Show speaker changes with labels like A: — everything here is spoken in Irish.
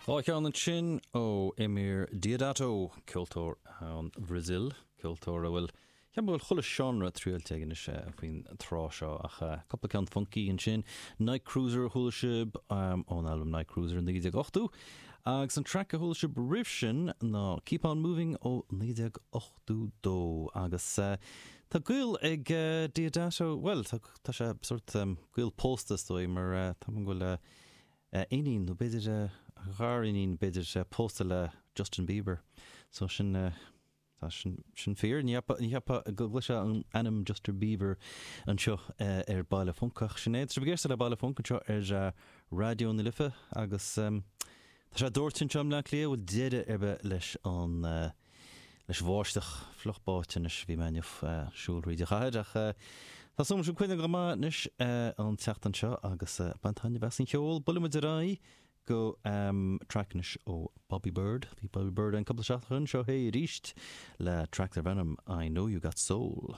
A: Dá cheann ansin ó Eumir Deodato, ceoltóir ón Bhrasaíl, ceoltóir a bhfuil, cheapfainn go bhfuil chuile seánra triailte aige anois faoin tráth seo, ach cúpla ceann funky ansin, Night Cruiser a chuala sibh ón albam Night Cruiser in 1980, agus an traic a chuala sibh roimh sin ná Keep On Moving ó 1982, agus tá gaol ag Deodato, bhuel, tá sé sórt gaol pósta is dóigh, mar tá go bhfuil iníon, nó b'fhéidir a ghariníon, b'fhéidir, pósta le Justin Bieber. So sin, tá sin, sin fíor. Ní cheapfá go gcloisfeá an ainm Justin Bieber anseo ar Baile Func ach sin é. Tá sibh ag éisteacht le Baile Func anseo ar Raidió na Life agus tá sé dóite anseo i mBleá Cliath, bhfuil deireadh ar bith leis an leis an bháisteach fliuch báite anois. Bhí mé inniu ag siúl thríd an chathair ach tá súil agam sibh coinneáil go maith anois an tseachtain seo agus bain taitneamh as an cheol. Buailfidh muid ar aghaidh go traic anois ó Bobby Byrd. Bhí Bobby Byrd ann cúpla seachtain ó shin, seo é arís le traic darb ainm I Know You Got Soul.